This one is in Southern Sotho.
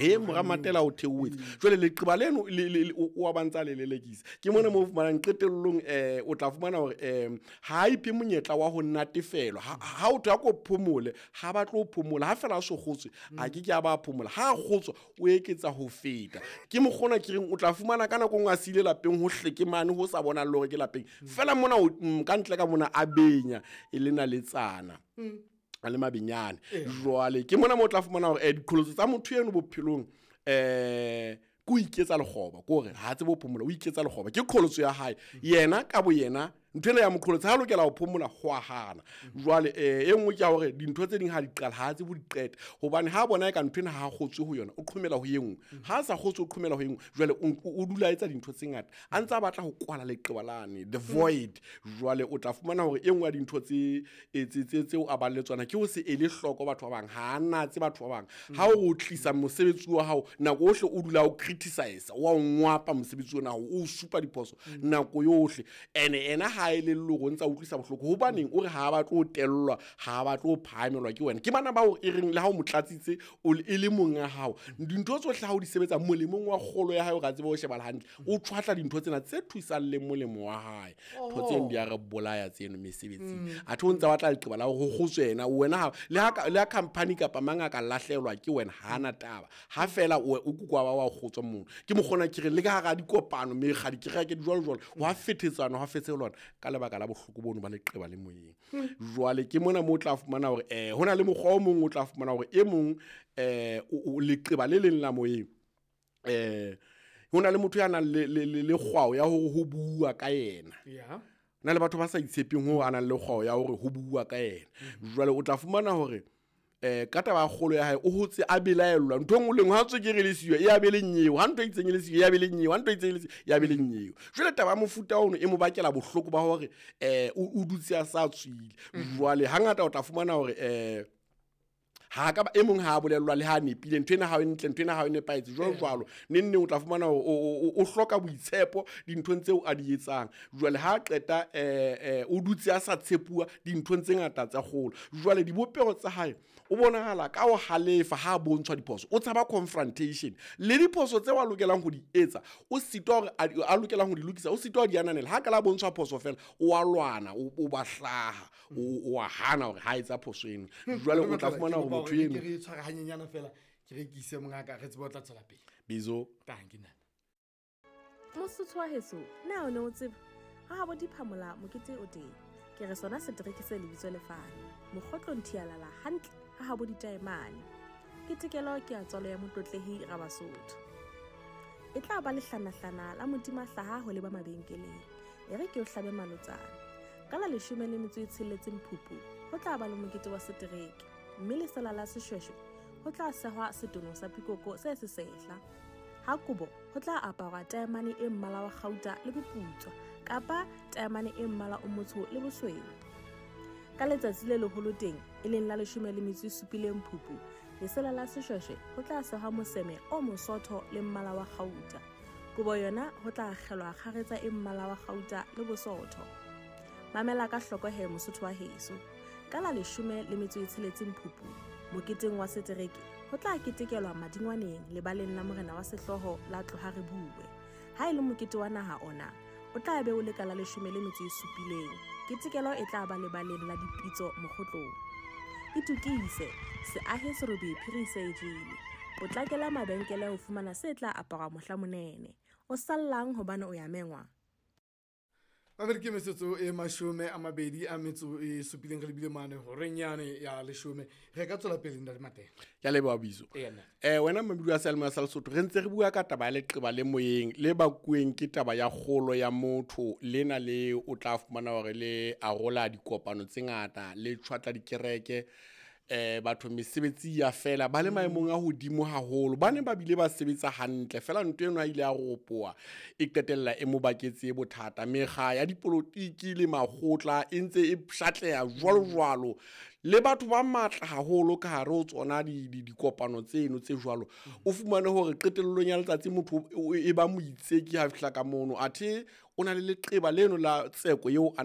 E mora Matela o theohetse. Jwale leqeba leno o a ba ntsa le lelekisa. Ke mona mo fumanang qetellong, o tla fumana hore ha a iphe monyetla wa ho natefelwa. Ha o thwe a ko phomole, ha ba tlo phomola. Ha fela a so kgotswe, a ke ke a ba phomola. Ha a kgotswa, o eketsa ho feta. Ke mokgona ke reng o tla fumana ka nako nngwe a siile lapeng ho hleke mane ho sa bonang le hore ke lapeng. Fela mona ka ntle ka mona a benya e le naletsana. A le mabenyane. Jwale ke mona mo o tla fumana hore diqholotso tsa motho eno bophelong, ke ho iketsa lekgoba, ke hore ha tsebe ho phomola, o iketsa lekgoba. Ke qholotso ya hae. Yena ka bo yena, ntho ena ya moqholotso, ha lokela ho phomola, ho a hana. Jwale e nngwe ke ya hore dintho tse ding ha di qala, ha tsebe ho di qeta. Hobane ha bona eka ntho ena ha a kgotswe ho yona, o qhomela ho e nngwe. Ha a sa kgotswe, o qhomela ho e nngwe. Jwale o dula a etsa dintho tse ngata, a ntse a batla ho kwala leqeba lane, the void. Jwale o tla fumana hore e nngwe ya dintho tseo a bang le tsona ke ho se ele hloko batho ba bang. Ha a natse batho ba bang. Ha o tlisa mosebetsi wa hao, nako yohle o dula o criticize, wa o ngwapa mosebetsi ona, o supa diphoso nako yohle. Ene ena ha e le lore o ntsa utlwisa bohloko. Hobaneng o re ha ba tlo tellwa, ha ba tlo phahamelwa ke wena. Ke bana bao e reng le ha o mo tlatsitse, o e le monga hao. Dintho tsohle ha o di sebetsa molemong wa kgolo ya hae, o ka tseba ho shebala hantle. O tshwatla dintho tsena tse thusang le molemo wa hae. Ntho tseno di a re bolaya tseno mesebetsing. Athe o ntse a batla leqeba la hore ho kgotswe yena, wena ha, le ha ka, le ha company kapa mang a ka lahlehelwa ke wena, ha ana taba. Ha fela o kukwa ba wa kgotswa mono. Ke mokgona ke re le ka hara dikopano, mekga, dikereke, di jwalo jwalo, ho a fetetsana, ho a fetselwana ka lebaka la bohloko bono ba leqeba le moyeng. Jwale ke mona mo o tla fumana hore, ho na le mokgwa o mong o tla fumana hore e mong, o leqeba le leng la moyeng, ho na le motho ya nang le kgwao ya hore ho bua ka yena. Na le batho ba sa itshepeng ho a nang le kgwao ya hore ho bua ka yena. Jwale o tla fumana hore, ka taba ya kgolo ya hae, o hotse a belaellwa. Ntho e nngwe le nngwe, ha tswekere e le siyo, e a be le nyeo. Ha ntho e itseng e le siyo, e a be le nyeo. Ha ntho e itseng e le siyo, e a be le nyeo. Jwale taba ya mofuta ono e mo bakela bohloko ba hore, o dutse a sa tswile. Jwale hangata o tla fumana hore, ha ka ba, e mong ha a bolellwa le ha a nepile, ntho ena ha e ntle, ntho ena ha e nepahetse, jwalo jwalo. Neng neng o tla fumana hore o hloka boitshepo dinthong tseo a di etsang. Jwale ha a qeta, o dutse a sa tshepuwa dinthong tse ngata tsa kgolo. Jwale dibopeho tsa hae, o bonahala ka ho halefa ha a bontshwa diphoso. O tshaba confrontation. Le diphoso tseo a lokelang ho di etsa, o sitwa hore a di, a lokelang ho di lokisa, o sitwa ho di ananela. Ha ka la bontshwa phoso fela, o a lwana, o ba hlaha, o a hana hore ha etsa phoso eno. Jwale o tla fumana hore motho eno Ke re tshware hanyenyana fela, ke re ke ise mongaka, re tsebe ho tla tswela pele. Bizo. Thank you, nana. Mosotho wa heso, na o ne o tseba? Ha habo diphamola mokete o teng. Ke re sona setereke se lebitso lefane. Mokgotlong thialala hantle ha habo ditaemane. Ke tekelo ke ya tswalo ya motlotlehi Rabasotho. E tla ba lehlanahlana la modima hlaha ho leba mabenkeleng. E re ke o hlabe malotsana. Ka la 16 Phupu, ho tla ba le mokete wa setereke. Mme lesela la seshweshwe ho tla sehwa setono sa pikoko se sesehla. Ha kobo ho tla aparwa taemane e mmala wa kgauta le boputswa kapa taemane e mmala o motsho le bosweu. Ka letsatsi le leholo teng, e leng la 17 Phupu, lesela la seshweshwe ho tla sehwa moseme o mosotho le mmala wa kgauta. Kobo yona ho tla akgelwa kgaretsa e mmala wa kgauta le bosotho. Mamela ka hloko he Mosotho wa heso. Ka la 16 Phupu, moketeng wa setereke, ho tla ketekelwa madingwaneng lebaleng la morena wa sehlooho la Tloha Re Bue. Ha e le mokete wa naha ona, o tla be o le ka la 17. Ketekelo e tla ba lebaleng la dipitso mokgotlong. Itokise, seahe serobe phiri se e jele. Potlakela mabenkele ho fumana se tla aparwa mohla monene. O sallang hobane o ya mengwa. Mamedi ke metsotso e 27 re lebile mane horeng yane ya 10. Re ka tswela pele ntate Matela. Ke a leboha Bizo. Ee, nna. Wena Mamedi wa Seyalemoya sa Lesotho, re ntse re bua ka taba ya leqeba le moyeng le bakuweng ke taba ya kgolo ya motho lena le o tla fumana hore le arola dikopano tse ngata, le tjhwatla dikereke, batho mesebetsi ya fela, ba le maemong a hodimo haholo, ba ne ba bile ba sebetsa hantle fela ntho eno a ile ya ropoa e qetella e mo baketse bothata. Mekga ya dipolotiki le makgotla e ntse e pshatleha jwalo jwalo, le batho ba matla haholo ka hare ho tsona dikopano tseno tse jwalo. O fumane hore qetellong ya letsatsi motho e ba moitseki ha fihla ka mono, athe o na le leqeba leno la tseko eo a